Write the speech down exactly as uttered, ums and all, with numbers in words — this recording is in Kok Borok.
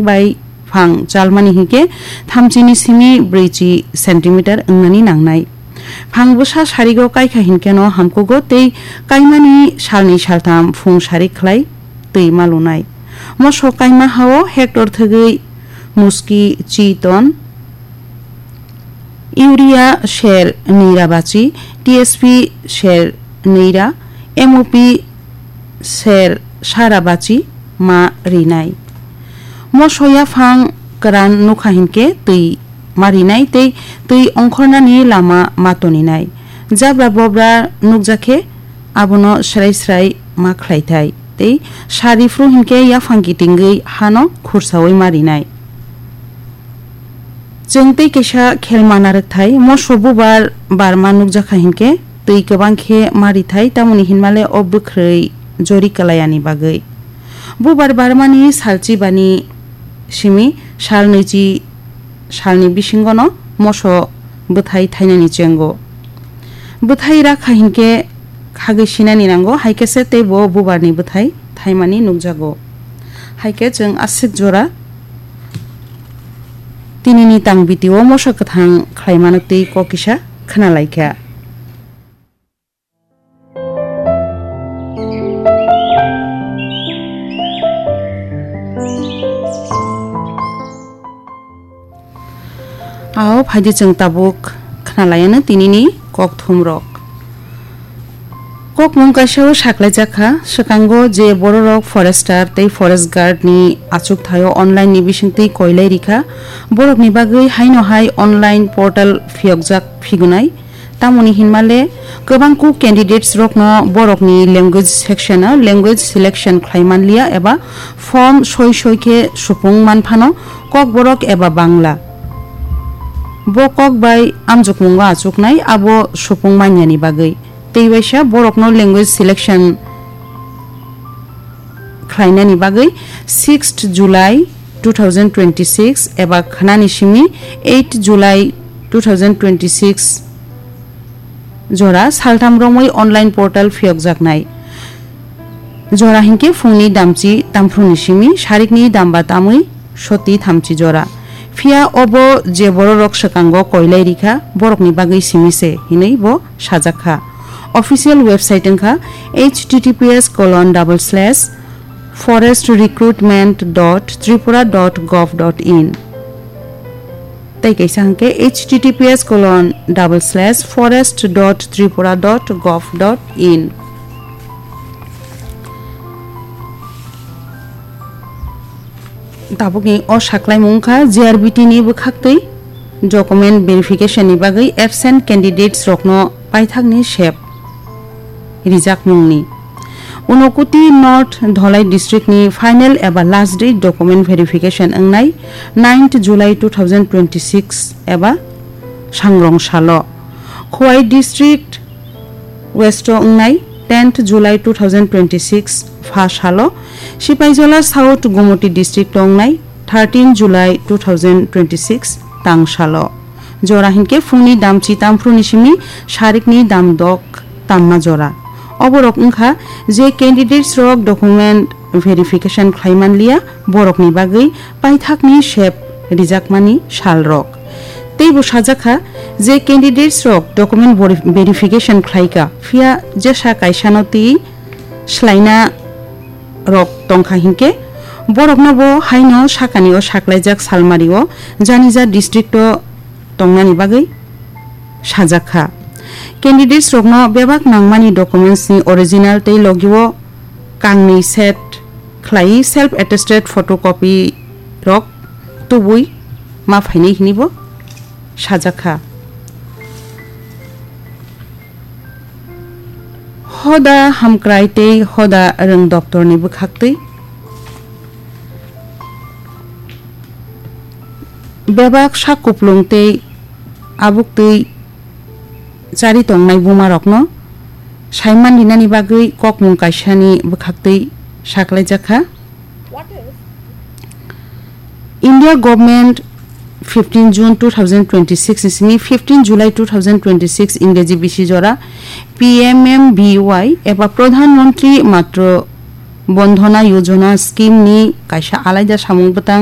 bai phang chalmani hinkhe thamchini simi brwichi centimeter wngnani nangnai. Phang bwsa sarigo kaikha hinkhe no hamkugo tei kaimani salni saltham phung sari khlai twi malunai. Moso kaima hao hector thwgwi muski, chiton, urea ser nwi ra bachi, T S P ser nwi ra, M O P ser sa ra bachi ma rinai. Moso yaphang kwran nukha hinkhe twi ma rinai tei twi ongkhornani lama ma toninai. Jabra bobra nukjakhe abono srai srai ma khlaithai tei sari phru hinkhe yaphang kitingwi hano khursaui ma rinai. Chwng tei kaisa khelma narwkthai, moso bubar barma nukjakha hinkhe twi kwbang khe ma rithai, tamoni hinmale o bwkhrwi jori kwlayani bagwi. Bubar barmani salchi bani simi sal nwichi salni bisingono moso bwthai thainani chengo. Bwthai rakha hinkhe khagwi sinani nango, hai khe se tei bo bubarni bwthai thaimani nukjago. Hai khe chwng aswk jora tinini tang video moso kwthang khlaimano tei kok kisa khna lai kha. Ao phaidi chwng tabuk khna lai ano tinini kokthum rok. Kokmung kaisa o saklai jak kha, swkango je bororok forester tei forest guard ni achuk thaio online ni bisingtwi koilai rikha, borok ni bagwi haino hai online portal phiyokjak phigunai. Tamoni hinmale kwbangkuk candidates rokno borokni language section o language selection khlai manliya eba form soi soi khe supung manphano Kokborok eba Bangla. Bo kok bai amjokmungo achuknai abo supung manyani bagwi. Tei waisa borokno language selection khlainani bagwi sixth July two thousand twenty-six eba khnani simi eight July two thousand twenty-six jora saltham romwi online portal phiyokjaknai. Jora hinkhe phungni damchi tamphru ni simi sarikni damba tamwi soti thamchi jora. Phiya obo je bororok swkango koilai rikha, borokni bagwi simi se, hinwi bo sajak kha. Official website wngkha H T T P S colon double slash forest recruitment dot tripura dot gov dot in. Tei kaisa hwnkhe H T T P S colon double slash forest dot tripura dot gov dot in. Tabukni o saklaimung wngkha G R B T ni bwkhaktwi document verification ni bagwi absent candidates rokno paithakni sep rijakmungni. Unakoti North Dholai district ni final eba last day document verification wngnai ninth July two thousand twenty-six eba sangrong salo. Khowai district West o wngnai tenth July two thousand twenty-six pha salo, Sipaijala South Gumoti district o wngnai thirteen July two thousand twenty-six tang salo. Jora hinkhe phungni damchi tamphru ni simi sarikni dam dok tamma jora. Oborok wngkha je candidates rok document verification khlai manliya, borokni bagwi paithakni sep rijakmani salrok. Teibo sajak kha je candidates rok document veri-, verification khlaika, phiya jesa kaisano twi slaina rok tongkha hinkhe borokno bo haino sakani o saklaijak salmari o janija district o tongnani bagwi sajak kha. Candidates rokno bebak nangmani documents ni original tei logi o kangnwi set khlai self attested photocopy rok tubui ma phainai hinwi bo sajak kha. Hoda hamkrai tei hoda rwng doptorni bwkhaktwi bebak sak kuplung tei abuktwi chari tongnai bumarokno saiman rinani bagwi kokmung kaisani bwkhaktwi saklaijak kha. India government fifteen June two thousand twenty-six ni simi fifteen July two thousand twenty-six Ingreji bisi jora P M M B Y eba Pradhan Mantri Matru Bandhana Yojana scheme ni kaisa alaida samung bwtang